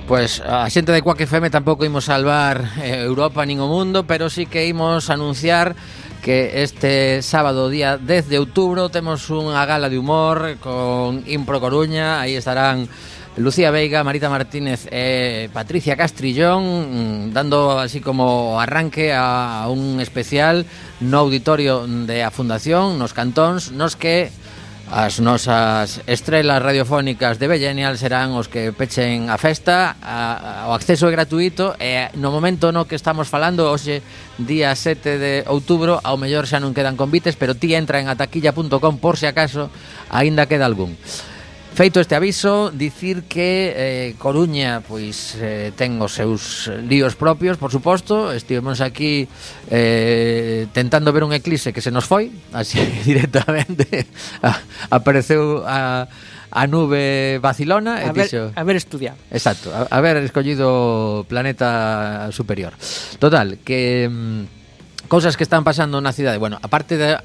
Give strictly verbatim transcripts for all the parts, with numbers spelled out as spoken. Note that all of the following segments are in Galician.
Pois a xente de Quack F M tampouco imos salvar eh, Europa nin o mundo, pero sí que imos anunciar que este sábado, día dez de outubro, temos unha gala de humor con Impro Coruña. Aí estarán Lucía Veiga, Marita Martínez e Patricia Castrillón, dando así como arranque a un especial no auditorio de a Fundación, nos Cantóns, nos que as nosas estrelas radiofónicas de Bellenial serán os que pechen a festa. A, a, o acceso é gratuito e no momento no que estamos falando, hoxe día sete de outubro, ao mellor xa non quedan convites, pero ti entra en ataquilla punto com por se acaso aínda queda algún. Feito este aviso, dicir que eh, Coruña pois eh, ten os seus líos propios, por suposto. Estivemos aquí eh, tentando ver un eclipse que se nos foi, así directamente a, apareceu a, a nube vacilona e a ver, dixo, a ver estudiado. Exacto, a, a ver escollido planeta superior. Total, que mm, cousas que están pasando na cidade. Bueno, aparte de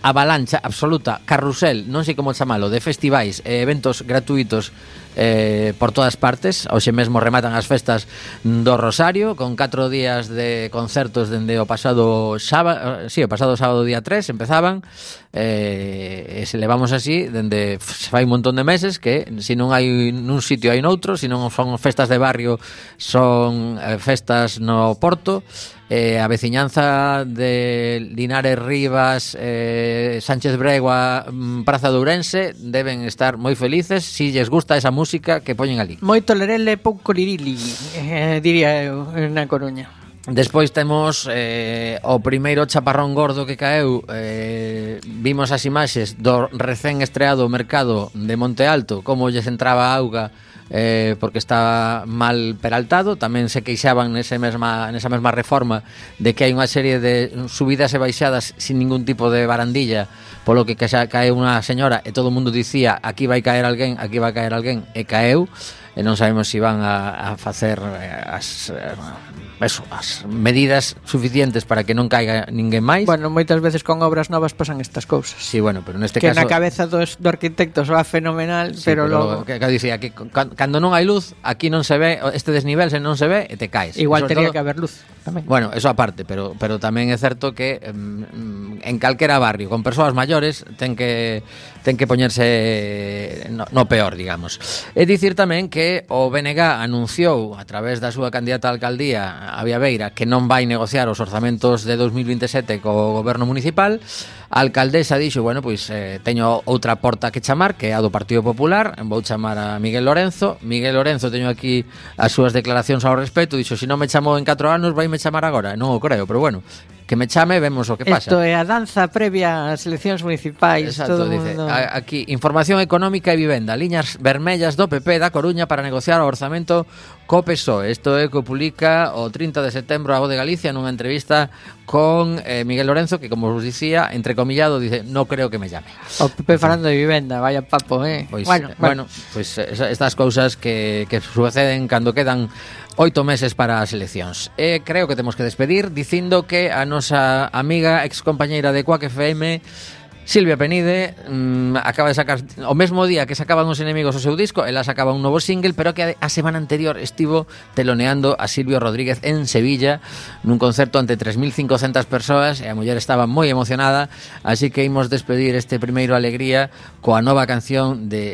avalancha absoluta, carrusel, non sei como chamalo, de festivais e eventos gratuitos eh, por todas partes. Hoxe mesmo rematan as festas do Rosario con catro días de concertos dende o pasado sábado, sí, o pasado sábado día tres empezaban, eh, e se levamos así dende fai un montón de meses, que se non hai nun sitio hai noutro, se non son festas de barrio son eh, festas no Porto. Eh, a veciñanza de Linares Rivas, eh, Sánchez Bregua, Praza de Ourense deben estar moi felices si lles gusta esa música que poñen ali. Moito lerele, pouco lirili, eh, diría eu, na Coruña. Despois temos eh, o primeiro chaparrón gordo que caeu. eh, Vimos as imaxes do recén estreado mercado de Monte Alto, como lles entraba a auga eh, porque estaba mal peraltado. Tamén se queixaban nese mesma, nesa mesma reforma de que hai unha serie de subidas e baixadas sin ningún tipo de barandilla, polo que xa cae unha señora e todo o mundo dicía aquí vai caer alguén, aquí vai caer alguén, e caeu. E non sabemos se van a, a facer as, eso, as medidas suficientes para que non caiga ninguén máis. Bueno, moitas veces con obras novas pasan estas cousas. Sí, bueno, pero neste que caso... Que na cabeza dos, do arquitecto va fenomenal, sí, pero, pero logo... Que, que dicía que cando non hai luz, aquí non se ve, este desnivel se non se ve e te caes. Igual teria todo... que haber luz tamén. Bueno, eso aparte, pero, pero tamén é certo que um, en calquera barrio con persoas maiores ten que ten que poñerse no, no peor, digamos. É dicir tamén que o B N G anunciou a través da súa candidata a alcaldía, a Viabeira, que non vai negociar os orzamentos de dos mil vinte e sete co goberno municipal. A alcaldesa dixo, bueno, pois eh, teño outra porta que chamar, que é a do Partido Popular, vou chamar a Miguel Lorenzo. Miguel Lorenzo, teño aquí as súas declaracións ao respecto, dixo, se non me chamou en catro anos, vai me chamar agora. Non o creo, pero bueno, que me chame, vemos o que pasa. Isto é a danza previa ás eleccións municipais. Exacto, todo dice, mundo... aquí, información económica e vivenda, liñas vermellas do P P da Coruña para negociar o orzamento co P S O E. Isto é que o publica o trinta de setembro a Voz de Galicia nunha entrevista con eh, Miguel Lorenzo, que, como vos dicía, entrecomillado, dice, no creo que me llame. O P P falando de vivenda, vaya papo, eh? Pois, bueno, eh, bueno, pois pues, estas cousas que, que suceden cando quedan oito meses para as eleccións. E creo que temos que despedir dicindo que a nosa amiga ex compañeira de Quack F M, Silvia Penide, mmm, acaba de sacar o mesmo día que sacaban Os Enemigos o seu disco, ela sacaba un novo single, pero que a semana anterior estivo teloneando a Silvio Rodríguez en Sevilla nun concerto ante tres mil cincocentas persoas, e a muller estaba moi emocionada, así que imos despedir este primeiro Alegría coa nova canción de